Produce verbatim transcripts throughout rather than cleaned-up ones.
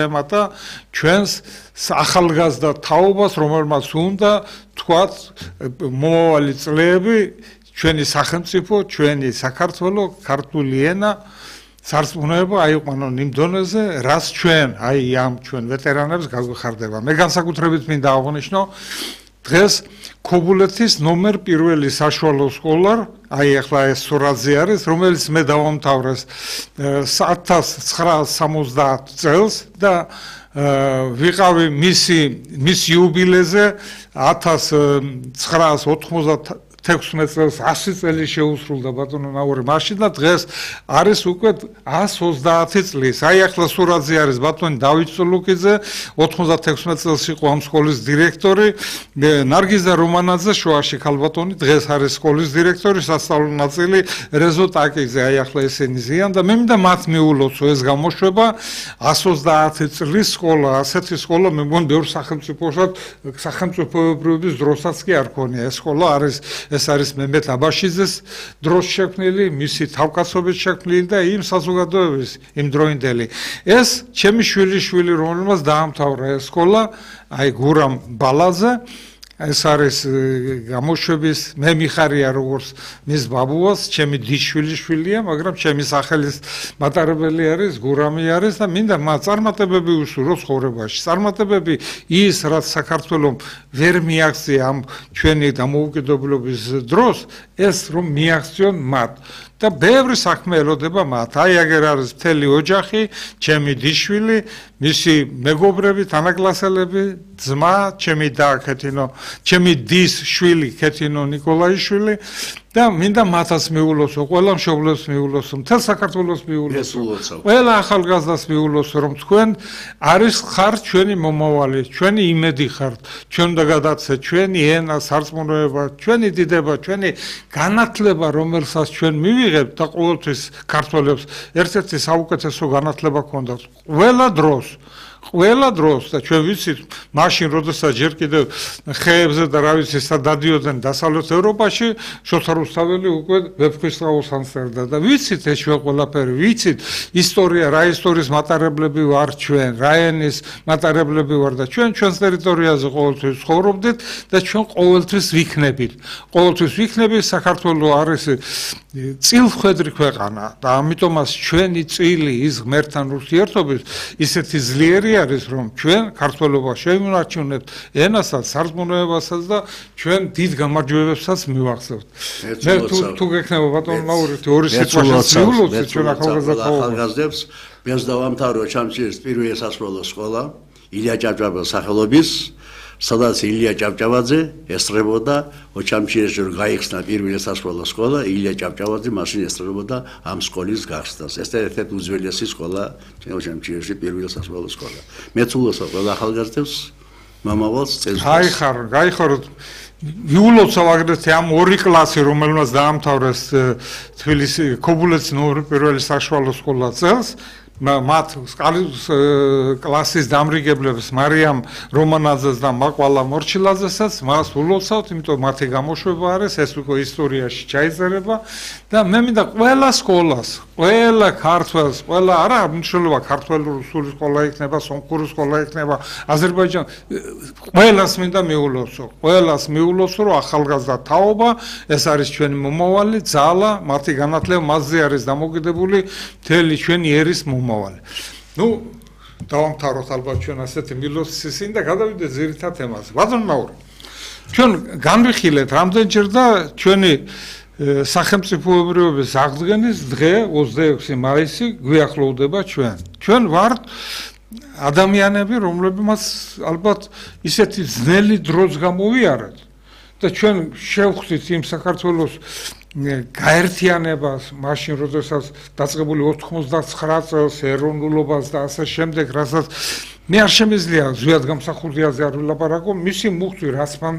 ემატა ჩვენს ახალგაზრდა თაობას, რომელმაც უნდა თქვათ მომავალი წლები ჩვენი სახელმწიფო, ჩვენი საქართველო, ქართული ენა სარწმუნოება აიყვანონ იმ დონეზე, რაც ჩვენ, აი ამ ჩვენ ვეტერანებს გაგვეხარდება. მე განსაკუთრებით მინდა აღვნიშნო დღეს ქობულეთის ნომერ პირველი საშუალო სკოლა, აი ახლა ეს სურათზე არის, რომელიც მე დავამთავრეს ათას ცხრაას სამოცდაათ წელს და ვიყავი მისი მის იუბილეზე ათას ცხრაას ოთხმოცდათექვსმეტ წელს ასი წელი შეუსრულდა ბატონო ნაური მაშინ და დღეს არის უკვე ას ოცდაათი წლის. აი ახლა სურათზე არის ბატონი დავით წულუკიძე, ოთხმოცდათექვსმეტ წელს იყო ამ სკოლის დირექტორი, ნარგიზა რომანაძე შუაში ქალბატონი დღეს არის სკოლის დირექტორი, სასწავლო ნაწილი რეზო ტაკიძე, აი ახლა ესენი ზიან და მე მინდა მათ მიულოცო ეს გამოშვება ას ოცდაათი წლის სკოლა, ასეთი სკოლა მე მგონი ბევრ სახელმწიფოსაც სახელმწიფოებრიობის დროსაც კი არ ქონია. ეს სკოლა არის ეს არის მემედ აბაშიძეს დროს შექმნილი, მისი თავკაცობით შექმნილი და იმ საზოგადოების იმ დროინდელი. ეს ჩემი შვილიშვილი, რომელმაც დაამთავრა ეს სკოლა, აი გურამ ბალაძე, ეს არის გამოშვების მე მიხარია როგორც მის ბაბუას, ჩემი დიშვილიშვილია, მაგრამ ჩემი სახელის მატარებელი არის, გურამი არის და მინდა მათ წარმატებები უსურვო ცხოვრებაში. წარმატებები ის, რაც საქართველომ ვერ მიაღწია ამ ჩვენი დამოუკიდებლობის დროს, ეს რომ მიაღწიონ მათ. და ბევრი საქმე ელოდება მათ. აი აგერ არის მთელი ოჯახი, ჩემი დიშვილი, მისი მეგობრები, თანაკლასელები, ძმა, ჩემი და ქეთინო, ჩემი დის შვილი, ქეთინო ნიკოლაიშვილი და მინდა მათაც მიულოცო, ყველა მშობლებს მიულოცო, მთელ საქართველოს მიულოცო, ყველა ახალგაზრდას მიულოცო, რომ თქვენ არის ხართ ჩვენი მომავალი, ჩვენი იმედი ხართ, ჩვენ უნდა გადაცეთ ჩვენი ენა, სარწმუნოება, ჩვენი დიდება, ჩვენი განათლება, რომელსაც ჩვენ მივიღებთ და ყოველთვის ქართველებს ერთ-ერთი საუკეთესო განათლება ჰქონდათ ყველა დროს. ყველა დროს და ჩვენ ვიცით მაშინ როდესაც ჯერ კიდევ ხეებზე და რა ვიცი სად დადიოდნენ დასავლეთ ევროპაში შოთა რუსთაველი უკვე ვეფხვისწყალოს ანსერდა და ვიცით ეს ჩვენ ყველაფერი ვიცით ისტორია რა ისტორიის მატარებლები ვარ ჩვენ რა ენის მატარებლები ვარ და ჩვენ ჩვენს ტერიტორიაზე ყოველთვის ცხოვრობდით და ჩვენ ყოველთვის ვიქნებით ყოველთვის ვიქნებით საქართველო არის წილხვედრი ქვეყანა და ამიტომაც ჩვენი წილი ის ღმერთთან ურთიერთობის ისეთი ძლიერი არის რომ ჩვენ ქართველობა შევინარჩუნებთ ენასაც, სარწმუნოებასაც და ჩვენ დიდ გამარჯვებებსაც მივახცევთ. მე თუ გექნება ბატონო მაურეთი ორი სიტყვაში მიულოცეთ ჩვენ ახალგაზრდებს, მეც დავამთავრე ჩამჩირის პირველი სასწავლო სკოლა, ილია ჭავჭავაძის სახელობის, სადაც ილია ჭავჭავაძე ესწრებოდა ოჩამჩირის ჯერ გაიხსნა პირველი სასწავლო სკოლა, ილია ჭავჭავაძე მაშინ ესწრებოდა ამ სკოლის გახსნას. ეს ერთ-ერთი უძველესი სკოლა ოჩამჩირისში პირველი სასწავლო სკოლა. მეც ულოცავ ყველა ახალგაზრდებს მომავალს წელს. გაიხარ, გაიხაროთ. მიულოცავ აგრეთვე ამ ორი კლასი, რომელმაც დაამთავრეს თბილისი ქობულეთის ნომერ პირველი საშუალო სკოლა წელს. მათ კლასის დამრიგებლებს მარიამ რომანაძეს და მაყვალა მორჩილაძესაც მას ულოცავთ, იმიტომ მათი გამოშვება არის, ეს უკვე ისტორიაში ჩაიწერება და მე მინდა ყველა სკოლას, ყველა ქართველს, ყველა არა მნიშვნელობა ქართველური რუსული სკოლა იქნება, სომხური სკოლა იქნება, აზერბაიჯანი, ყველას მინდა მიულოცო, ყველას მიულოცო, რომ ახალგაზრდა თაობა, ეს არის ჩვენი მომავალი, ძალა, მათი განათლება მასზე არის დამოკიდებული მთელი ჩვენი ერის მომავალი. ნუ დავამთავროთ ალბათ ჩვენ ასეთი მილოცისინ და გადავიდეთ ძირითად თემაზე. ბატონო მაური, ჩვენ განვიხილეთ რამდენჯერ და ჩვენი სახელმწიფოებრიობის აღდგენის დღე ოცდაექვსი მაისი გვიახლოვდება ჩვენ. ჩვენ ვართ ადამიანები, რომლებმაც ალბათ ისეთი ძნელი დროც გამოვიარეთ და ჩვენ შევხვდით იმ საქართველოს გაერთიანებას მაშინ როდესაც დაწყებული ოთხმოცდაცხრა წელს ეროვნულობას და ასე შემდეგ, რასაც მე არ შემიძლია ზუსტად გამსახურდიაზე არ ვილაპარაკო, მისი მუხტვი რაც მან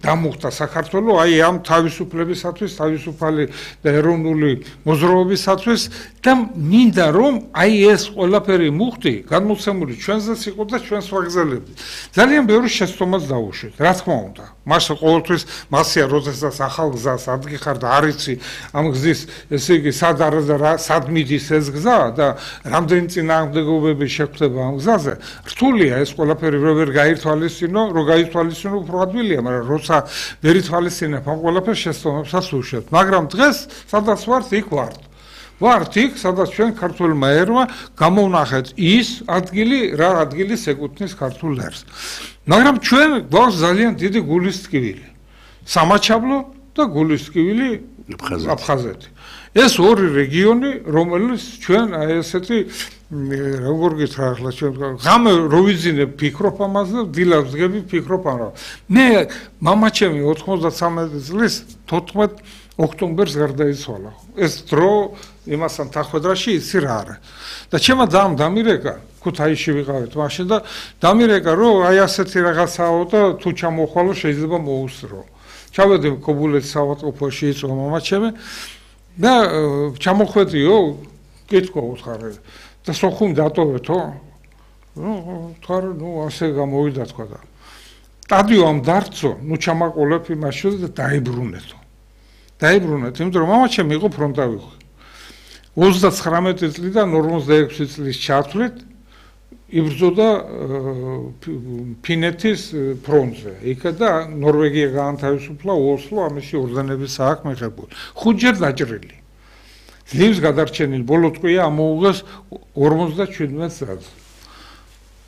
დამუხტა საქართველოს, აი ამ თავისუფლებისათვის, თავისუფალი და ეროვნული მოძრაობისათვის და მინდა რომ აი ეს ყველაფერი მუხტი გადმოცემული ჩვენზეც იყო და ჩვენს ვაგზელებდი. ძალიან ბევრი შეცდომას დაუშვით, რა თქმა უნდა. მას ყოველთვის მასია როდესაც ახალ გზას ადგიხარ და არ იცი ამ გზის ესე იგი სად არის და სად მიდის ეს გზა და რამდენი წინააღმდეგობები შეხვდება ამ გზაზე. რთულია ეს ყველაფერი ვერ გაითვალისწინო, რო გაითვალისწინო უფრო ადვილია, მაგრამ როცა ვერ ითვალისწინებ ამ ყველაფერს შეცდომებსაც უშვებთ. მაგრამ დღეს სადაც ვართ, იქ ვართ. ვართ იქ, სადაც ჩვენ ქართულმა ერმა გამოვნახეთ ის ადგილი, რა ადგილი ეკუთვნის ქართულ ერს. მაგრამ ჩვენ გვაქვს ძალიან დიდი გულის ტკივილი. სამაჩაბლო და გულის ტკივილი აფხაზეთი. ეს ორი რეგიონი, რომელიც ჩვენ აი ესეთი როგორ გითხრა ახლა ჩვენ ღამე რო ვიძინებ ფიქრობ ამაზე, დილას ვდგები ფიქრობ ამაზე. მე მამაჩემი ოთხმოცდათსამეტი წლის თოთხმეტ ოქტომბერს გარდაიცვალა. ეს დრო იმასთან თანხმედრაში იცი რა არის. და ჩემმა ძამ დამირეკა, ქუთაისში ვიყავით მაშინ და დამირეკა, რომ აი ასეთი რაღაცაო და თუ ჩამოხვალო შეიძლება მოუსწრო. ჩავედი კობულეთის საავადმყოფოში იწვა მამაჩემი და ჩამოხვედიო, კითხვა უთხარი და სოხუმ დატოვეთო? ნუ უთხარი, ნუ ასე გამოვიდა თქვა და სტადიო ამ დარწო, ნუ ჩამაყოლებ იმაში და დაიბრუნეთო. დაიბრუნეთ, იმიტომ რომ მამაჩემი იყო ფრონტავი. ოცდაცხრამეტი წლიდან ორმოცდაექვსი წლის ჩათვლით იბრძოდა ფინეთის ფრონტზე. იქა და ნორვეგია გაანთავისუფლა, ოსლო ამისი ორდენების აქვს მიღებული. ხუთჯერ დაჭრილი. ძლივს გადარჩენილი ბოლო ტყვია ამოუღეს ორმოცდაჩვიდმეტ წელს.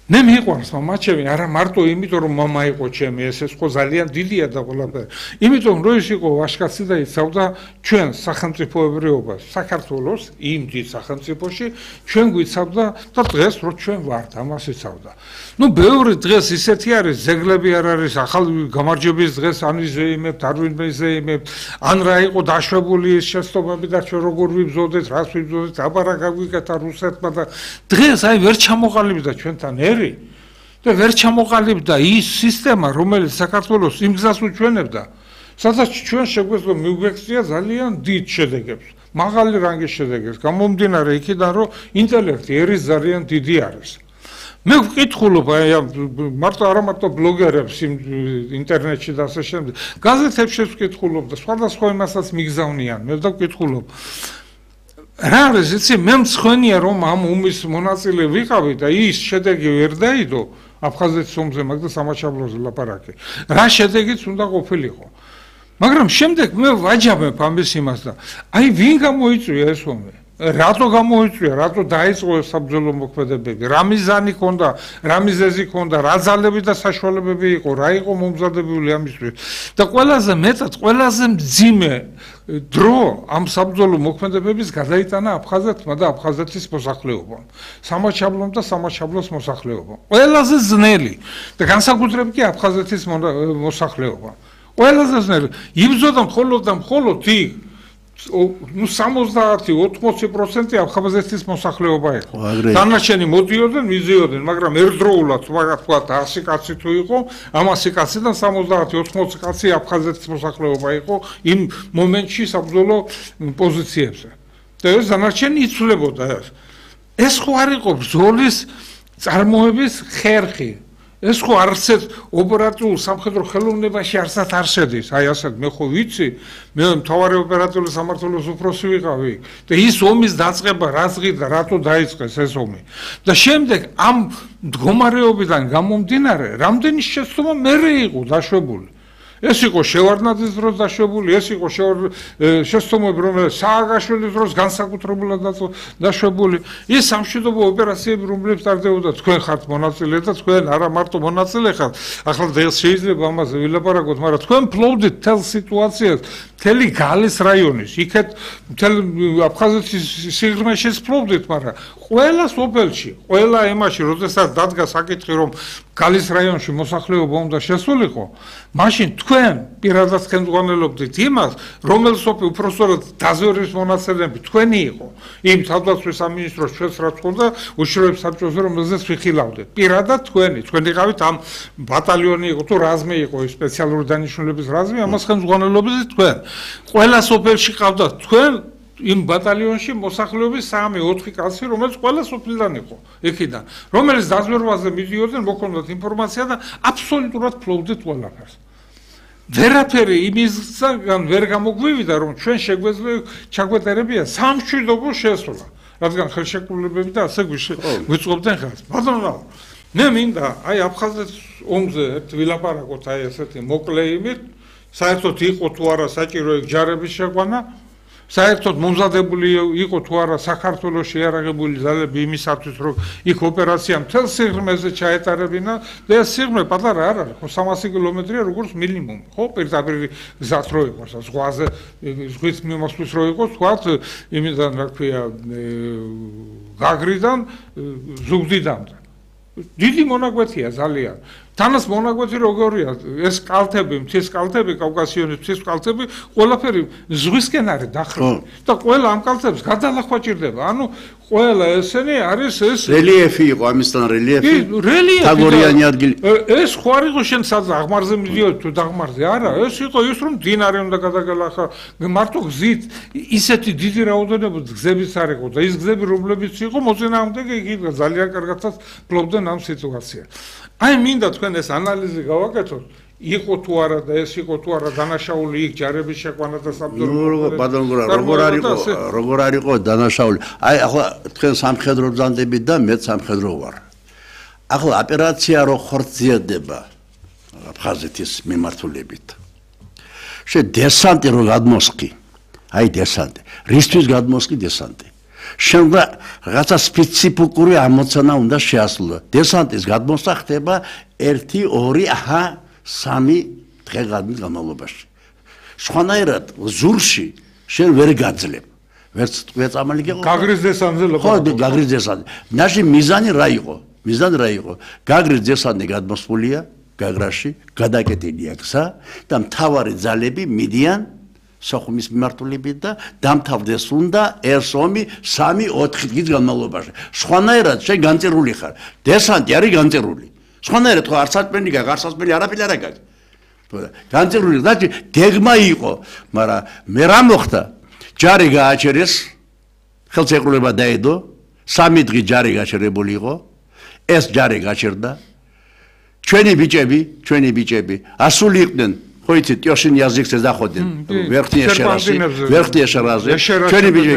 მე მიყვარს მამაჩემი, არა მარტო იმიტომ რომ მამა იყო ჩემი, ეს ეს ხო ძალიან დიდია და ყველაფერი. იმიტომ რომ ის იყო ვაჟკაცი და იცავდა ჩვენ სახელმწიფოებრიობას, საქართველოს იმ დიდ სახელმწიფოში, ჩვენ გვიცავდა და დღეს რო ჩვენ ვართ, ამას იცავდა. ნუ ბევრი დღეს ისეთი არის, ზეგლები არ არის, ახალ გამარჯვების დღეს ან ვიზეიმებთ, არ ვიზეიმებთ, ან რა იყო დაშვებული ეს შეცდომები და ჩვენ როგორ ვიბრძოდეთ, რას ვიბრძოდეთ, აბარა გაგვიკეთა რუსეთმა და დღეს აი ვერ ჩამოყალიბდა ჩვენთან და ვერ ჩამოყალიბდა ის სისტემა, რომელიც საქართველოს იმ გზას უჩვენებდა, სადაც ჩვენ შეგვეძლო მივგვექცია ძალიან დიდ შედეგებს, მაღალი რანგის შედეგებს, გამომდინარე იქიდან, რომ ინტელექტი ერის ძალიან დიდი არის. მე ვკითხულობ აი მარტო არა მარტო ბლოგერებს ინტერნეტში და ასე შემდეგ, გაზეთებშიც ვკითხულობ და სხვადასხვა იმასაც მიგზავნიან, მე და ვკითხულობ. რა არის იცი, მე მცხენია რომ ამ ომის მონაწილე ვიყავი და ის შედეგი ვერ დაიდო აფხაზეთის ომზე, მაგდა სამაჩაბლოზე ლაპარაკი. რა შედეგიც უნდა ყოფილიყო. მაგრამ შემდეგ მე ვაჯამებ ამის იმას და აი ვინ გამოიწვია ეს ომი? რატო გამოიწვია, რატო დაიწყო საბრძოლო მოქმედებები, რა მიზანი ჰქონდა, რა მიზეზი ჰქონდა, რა ძალები და საშუალებები იყო, რა იყო მომზადებული ამისთვის. და ყველაზე მეტად, ყველაზე მძიმე დრო ამ საბრძოლო მოქმედებების გადაიტანა აფხაზეთმა და აფხაზეთის მოსახლეობამ. სამაჩაბლომ და სამაჩაბლოს მოსახლეობამ. ყველაზე ძნელი და განსაკუთრებით კი აფხაზეთის მოსახლეობამ. ყველაზე ძნელი. იბრძოდა მხოლოდ და მხოლოდ იქ ნუ სამოცდაათი ოთხმოცი პროცენტი აფხაზეთის მოსახლეობა იყო. დანარჩენი მოდიოდნენ, მიზიოდნენ, მაგრამ ერთდროულად, მაგათ თქვა ასი კაცი თუ იყო, ამ ასი კაციდან სამოცდაათი ოთხმოცი კაცი აფხაზეთის მოსახლეობა იყო იმ მომენტში საბრძოლო პოზიციებზე. და ეს დანარჩენი იცვლებოდა ეს. ეს ხო არ იყო ბრძოლის წარმოების ხერხი. ეს ხო არცეთ ოპერატიულ სამხედრო ხელოვნებაში არცად არ შედის. აი ასეთ მე ხო ვიცი, მე მთავარი ოპერატიული სამმართველოს უფროსი ვიყავი და ის ომის დაწყება რა ზღიდა, რატო დაიწყეს ეს ომი. და შემდეგ ამ მდგომარეობიდან გამომდინარე, რამდენი შეცდომა მერე იყო დაშვებული. ეს იყო შევარდნაძის დროს დაშვებული, ეს იყო შეცდომები, რომელიც სააგაშვილის დროს განსაკუთრებულად დაშვებული. ის სამშვიდობო ოპერაციები, რომლებიც ტარდებოდა, თქვენ ხართ მონაწილე და თქვენ არა მარტო მონაწილე ხართ. ახლა დღეს შეიძლება ამაზე ვილაპარაკოთ, მაგრამ თქვენ ფლობდით თელ სიტუაციას, მთელი გალის რაიონის, იქეთ მთელ აფხაზეთის სიღრმეშიც ფლობდით, მაგრამ ყველა სოფელში, ყველა ემაში, როდესაც დადგა საკითხი, რომ გალის რაიონში მოსახლეობა უნდა შესულიყო, მაშინ თქვენ პირადად ხელმძღვანელობდით იმას, რომელ სოფელ უпростоრად დაზვერვის მონაცემები თქვენი იყო. იმ თავდაცვის სამინისტროს ჩვენს რაც ხონდა უშიშროების საბჭოზე, რომელზეც ვიხილავდით. პირადად თქვენი, თქვენ იყავით ამ ბატალიონი იყო თუ რაზმი იყო, სპეციალური დანიშნულების რაზმი, ამას ხელმძღვანელობდით თქვენ. ყველა სოფელში ყავდათ თქვენ იმ ბატალიონში მოსახლეობის სამი ოთხი კაცი, რომელიც ყველა სოფლიდან იყო, იქიდან, რომელიც დაზვერვაზე მიდიოდნენ, მოქონდათ ინფორმაცია და აბსოლუტურად ფლობდით ყველაფერს. ვერაფერი იმისგან ვერ გამოგვივიდა, რომ ჩვენ შეგვეძლო ჩაგვეტარებია სამშვიდობო შესვლა, რადგან ხელშეკრულებები და ასე გვიწყობდნენ ხელს. ბატონო, მე მინდა აი აფხაზეთის ომზე ერთ ვილაპარაკოთ აი ესეთი მოკლე იმით, საერთოდ იყო თუ არა საჭირო ეგ ჯარების შეყვანა, საერთოდ მომზადებული იყო თუ არა საქართველოს შეიარაღებული ძალები იმისათვის, რომ იქ ოპერაცია მთელ სიღრმეზე ჩაეტარებინა და ეს სიღრმე პატარა არ არის, ხო სამასი კილომეტრია როგორც მინიმუმ, ხო პირდაპირ გზად რო იყოს, ზღვაზე ზღვით მიმოსვლის რო იყოს, თქვათ იმიდან რა ქვია გაგრიდან ზუგდიდამდე. დიდი მონაკვეთია ძალიან. თანაც მონაკვეთი როგორია, ეს კალთები, მთის კალთები, კავკასიონის მთის კალთები, ყველაფერი ზღვისკენ არის დახრილი და ყველა ამ კალთებს გადალახვაჭირდება. ანუ ყველა ესენი არის ეს რელიეფი იყო, ამისთან რელიეფი. რელიეფი. თაგორიანი ადგილი. ეს ხო არ იყო შენ სადღაც აღმარზე მიდიოდი თუ დაღმარზე, არა, ეს იყო ის რომ დინარე უნდა გადაგალახა, მარტო გზით ისეთი დიდი რაოდენობა გზებიც არ იყო და ის გზები რომლებიც იყო მოწინააღმდეგე იქ ძალიან კარგადაც ფლობდნენ ამ სიტუაციას. აი მინდა თქვენ ეს ანალიზი გავაკეთოთ, იყო თუ არა და ეს იყო თუ არა დანაშაული იქ ჯარების შეყვანა და საბრძოლო. ბატონო, როგორ არ იყო, როგორ არ იყო დანაშაული. აი ახლა თქვენ სამხედრო ბრძანდებით და მე სამხედრო ვარ. ახლა ოპერაცია რო ხორციელდება აფხაზეთის მიმართულებით. შე დესანტი რო გადმოსყი. აი დესანტი. რისთვის გადმოსყი დესანტი? შემდგა რაღაცა სპეციფიკური ამოცანა უნდა შეასრულო. დესანტის გადმოსა ხდება ერთი, ორი, აჰა, სამი დღე განმავლობაში. სხვანაირად ზურში შენ ვერ გაძლებ. ვერც წამალი გეყო. გაგრის დესანტზე ლაპარაკობ. ხო, გაგრის დესანტი. ნაში მიზანი რა იყო? მიზანი რა იყო? გაგრის დესანტი გადმოსულია გაგრაში, გადაკეტილია გზა და მთავარი ძალები მიდიან სოხუმის მიმართულებით და დამთავრდეს უნდა ეს ომი სამი ოთხი დღის განმავლობაში. სხვანაირად შენ განწერული ხარ. დესანტი არის განწერული. სხვანაირად ხო არ საწმენი გაქვს, არ საწმენი არაფერი არ გაქვს. განწერული და დეგმა იყო, მაგრამ მე რა მოხდა? ჯარი გააჩერეს, ხელშეკრულება დაედო, სამი დღე ჯარი გაჩერებული იყო. ეს ჯარი გაჩერდა. ჩვენი ბიჭები, ჩვენი ბიჭები ასული იყვნენ. ხო იცით, ტიოშინ языкზე დაходენ. ვერხნია შერაზი, ვერხნია შერაზი. ჩვენი ბიჭები